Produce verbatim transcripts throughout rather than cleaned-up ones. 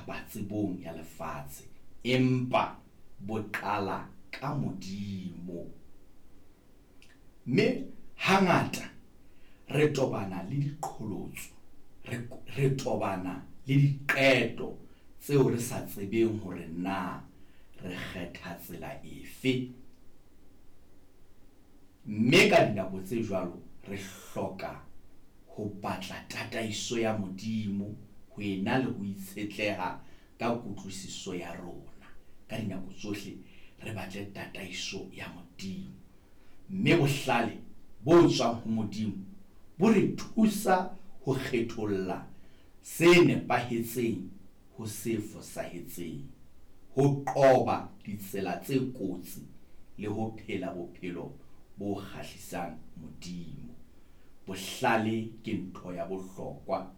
kapa tsebong ya lefatshe, empa bo qala ka Modimo. Mme hangata re tobana le diqholotso, re, re tobana le diqeto tseo re sa tsebeng hore na re kgetha tsela efe. Mme ka dinako tse jwalo re hloka ho batla tataiso ya Modimo ho ena le ho itshetleha ka kutlwisiso ya rona. Ka dinako tsohle re batle tataiso ya Modimo. Mme bohlale bo tswang ho Modimo bo re thusa ho kgetholla se nepahetseng ho se fosahetseng, ho qoba ditsela tse kotsi le ho phela bophelo bo kgahlisang Modimo. Bohlale ke ntho ya bohlokwa.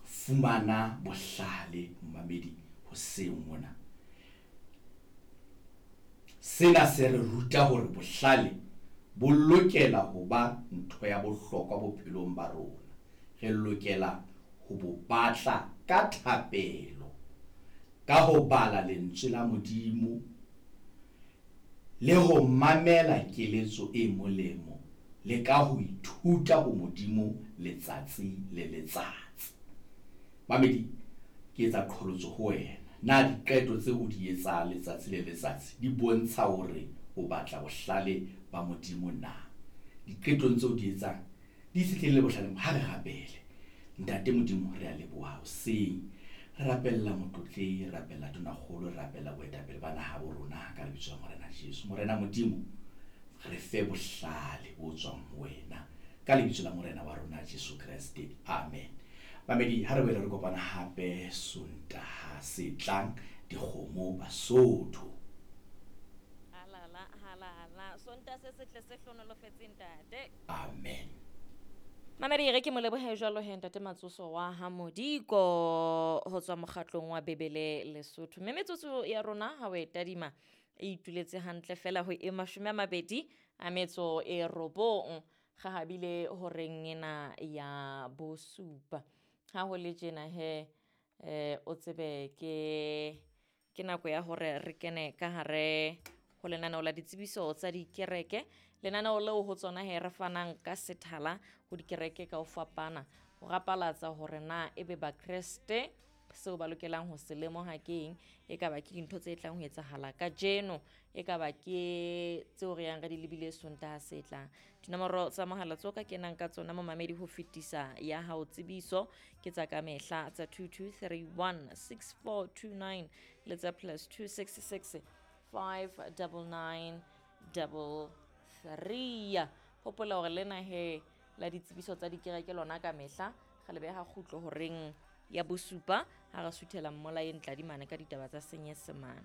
Fumana bohlale, momamedi, hoseng mona. Sena se re ruta hore bohlale bo lokela ho ba ntho ya bohlokwa bophelong ba rona. Re lokela ho bo batla ka thapelo, ka ho bala lentswe la Modimo le ho mamela keletso e molemo le ka ho ithuta ho Modimo letsatsi le letsatsi. Mamedi, ke etsa qholotso ho wena. Na diqeto tseo o di etsang letsatsi le letsatsi di bontsha hore o batla bohlale ba Modimo na? Diqetong tseo o di etsang di itshetlehile bohlaleng. Ha re rapele. Ntate Modimo, re a leboha hoseng. Re rapella motlotlehi, re rapella tonakgolo, re rapella boetapele ba naha bo rona ka lebitso la Morena Jesu. Morena Modimo, re fe bohlale bo tswang ho wena ka lebitso la Morena wa rona Jesu Kreste. Amen. Mamedi, ha re boele re kopana hape Sontaha se tlang, dikgomo Basotho. Halala, halala. Sontaha se setle se hlohonolofetseng, ntate. Amen. Mamedi, re ke mo lebohe jwalo he ntate Matsoso wa ha Modiko ho tswa mokgatlong wa Bebele Lesotho. Mme metsotso ya rona ha o e tadima e ituletse hantle fela ho e mashome a mabedi a metso e robong, gahabile horeng ena ya bosupa. Ha ho le tjena he, eh, o tsebe ke ke nako ya hore re kene ka hare ho lenaneo la ditsebiso tsa dikereke. Lenaneo leo ho tsona he re fanang ka sethala ho dikereke ka ho fapana, ho rapalatsa hore na ebe Bakreste seo ba lokelang ho se lemoha ke eng, e ka ba ke dintho tse tlang ho etsahala kajeno, e ka ba ke tseo re yang re di lebile Sontaha se tlang. Dinomoro tsa mohala tseo ka kenang ka tsona momamedi ho fetisa ya hao tsebiso ke tsa ka mehla tsa two two three one six four two nine le tsa plus two six six five double nine double three. Hopola hore lena he la ditsebiso tsa dikereke lona ka mehla re le beha kgutlo horeng ya bosupa ha re suthela mmolayeng tladimane ka ditaba tsa Senyesemane.